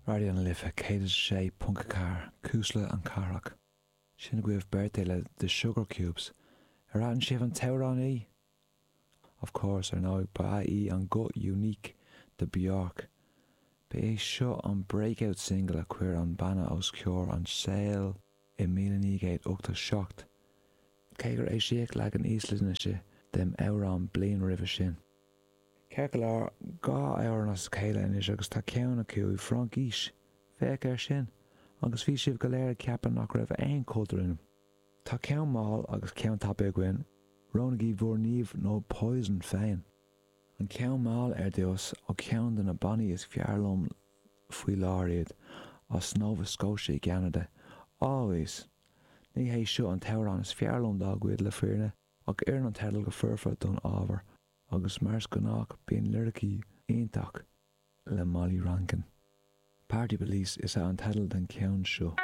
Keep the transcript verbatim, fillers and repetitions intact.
Raidió na Life céad is a sé ponc a ceathair, Cuisle na Cathrach. Sin agaibh beirt le The Sugarcubes. Ar aithin sibh an t-amhránaí? Of course, ar ndóigh, ba í an guth unique de Björk. Ba é seo an breakout single a chuir an banna os comhair an tsaoil i míle naoi gcéad ochtó seacht, cé gur eisíodh leagan Íoslainnise den amhrán bliain roimhe sin. Ceart go leor, dhá amhrán as a chéile anois agus tá ceann acu i bhFraincis. Féach air sin! Agus bhí sibh go léir ag ceapadh nach raibh aon chultúr ionam. Tá ceann mall agus ceann tapaidh againn, roghnaígí bhur nimh nó poison féin. An ceann mall ar dtús, ó cheann de na bannaí is fearr liom faoi láthair iad, as Nova Scotia i gCeanada. Always! Ní hé seo an t-amhrán is fearr liom dá gcuid le fírinne, ach oireann an teideal go foirfe don ábhar, agus mar is gnách bíonn liricí iontach le Molly Rankin. Party Police is ea an teideal den cheann seo.